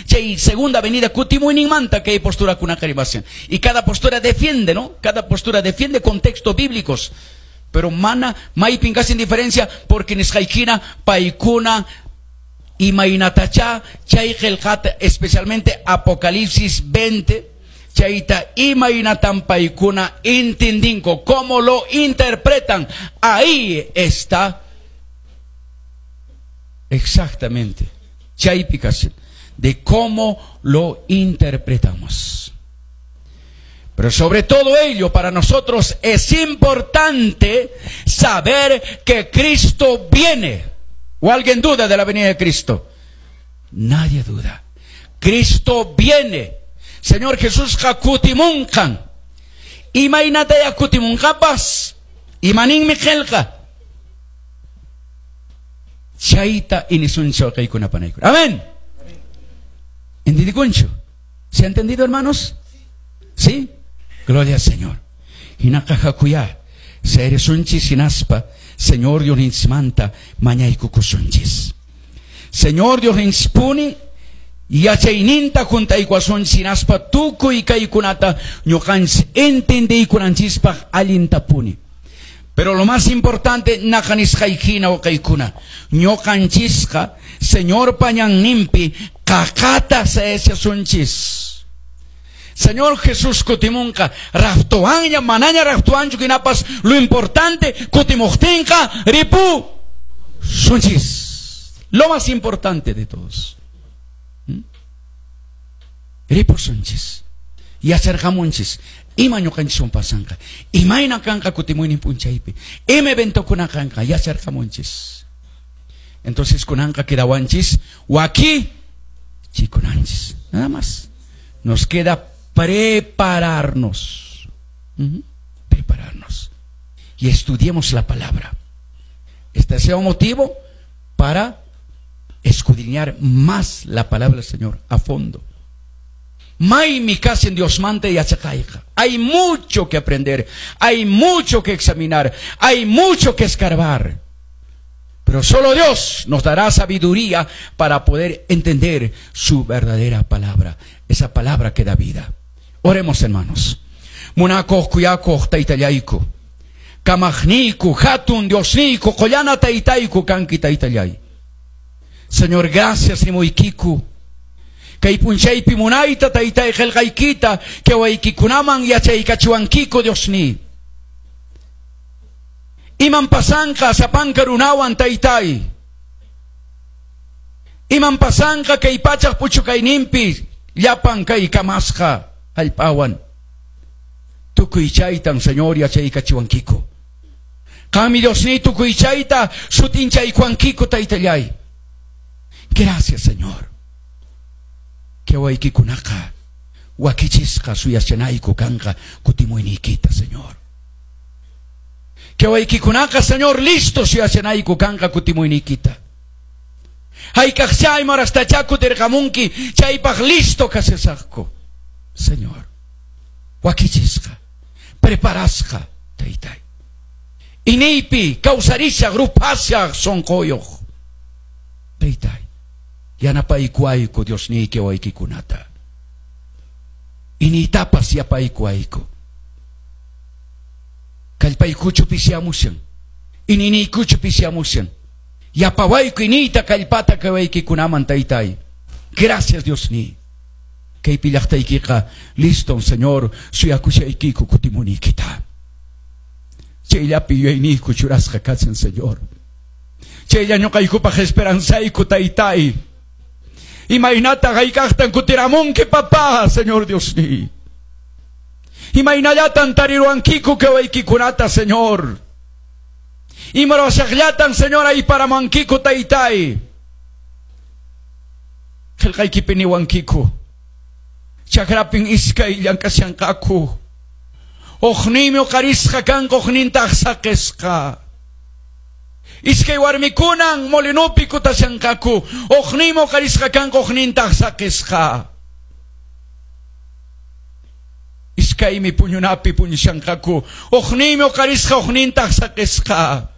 Chay segunda venida kutimuyninmanta kay posturakunaqa rimashan. Y cada postura defiende, ¿no? Cada postura defiende contextos bíblicos. Pero mana maypin kashan diferencia porque nisqaykina paykuna imaynatacha chay qillqata, especialmente Apocalipsis 20, chayta imaynatan paykuna entendinku, cómo lo interpretan. Ahí está exactamente chaypi kashan de cómo lo interpretamos. Pero sobre todo ello, para nosotros es importante saber que Cristo viene. ¿O alguien duda de la venida de Cristo? Nadie duda. Cristo viene. Señor Jesús kutimunqan. Imaynataya kutimunqapas. Imaninmi qillqa. Chayta inisuncho kaykuna panaykuna. Amén. ¿Entendikunchu? ¿Se ha entendido, hermanos? ¿Sí? Gloria al Señor. Hinaqa hakuyá. Sayarisunchis hinaspa. Señor Diosninchikmanta mañaykukusunchis. Señor Diosninchikpuni yachayninta hunt'aykuwasunchis hinaspa tukuy kaykunata ñuqanchis entendiykunanchispaq allintapuni. Pero lo más importante, naqa nisqaykina wawqiykuna, ñuqanchisqa Señorpa ñanninpi qaqata sayashasunchis. Señor Jesús kutimunqa raptowanña manaña raptowanchu hinapas lo importante kutimuqtinqa ripusunchis. Lo más importante de todos. Ripusunchis. Yacharqamunchis. Ima ñuqanchiswan pasanqa. Imayna kanqa kutimuynin p'unchaypi. Ima eventokuna kanqa yacharqamunchis. Entonces kunanqa quedawanchis wakichikunanchis. Nada más. Nos queda prepararnos. Prepararnos. Y estudiemos la palabra. Este sea un motivo para escudriñar más la palabra del Señor a fondo. Maymi kashan Diosmanta yachaqayqa. Hay mucho que aprender, hay mucho que examinar, hay mucho que escarbar. Pero solo Dios nos dará sabiduría para poder entender su verdadera palabra, esa palabra que da vida. Oremos, hermanos. Munakuq khuyakuq taytallayku. Kamaqniyku, hatun Diosniyku, qullana taytayku kanki taytallay. Señor, gracias nimuykiku. Kay p'unchaypi munayta taytay qillqaykita wawaykikunaman yachaykachiwankiku Diosniy. Iman pasanqa sapanka runawan taytay. Iman pasanqa kay pachaq puchukayninpi llapan kay kamasqa hallp'awan. Tukuy chaytan Señor yachaykachiwankiku. Qanmi Diosniy tukuy chayta sut'inchaykuwankiku taytallay. Gracias, Señor. Kay wawaykikunaqa wakichisqa suyashanayku kanqa kutimuyniykita, Señor. Kay wawaykikunaqa, Señor, listo suyashanayku kanqa kutimuyniykita. Hayk'aqcha imarastacha kutirqamunki chaypaq listo kashasaqku. Señor, wakichisqa, preparasqa, taytay. Iñiypi kawsarishaq ruphashaq sunquyuq. Taytay, yanapaykuwayku Diosniyki wawaykikunata. Iñiytapas yapaykuwayku. Kallpaykuchu pishiamushan. Iñiyniykuchu pishiamushan. Yapawayku iñiyta kallpata kay wawaykikunaman taytay. Gracias Diosniy. Kaypi llaqtaykiqa listo, Señor, suyakushaykiku kutimunaykita. Chayllapi yuyayniyku churasqa kachan, Señor. Chaylla ñuqaykupaq esperanzayku taytay. Imaynata hayk'aqtan kutiramunki papá, Señor Diosniy. Imaynallatan tariruwankiku kay wawaykikunata, Señor. Imarashaqllatan, Señor, ayparamankiku taytay. Qillqaykipi niwankiku. Chakrapin iskay llank'ashanqaku. Hukninmi huqarisqa kanqa, huknintaq saqisqa. Iskay warmikunan molinopi kutashanqaku. Hukninmi huqarisqa kanqa, huknintaq saqisqa. Iskaymi puñunapi puñushanqaku. Hukninmi huqarisqa, huknintaq saqisqa.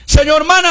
Señor, manan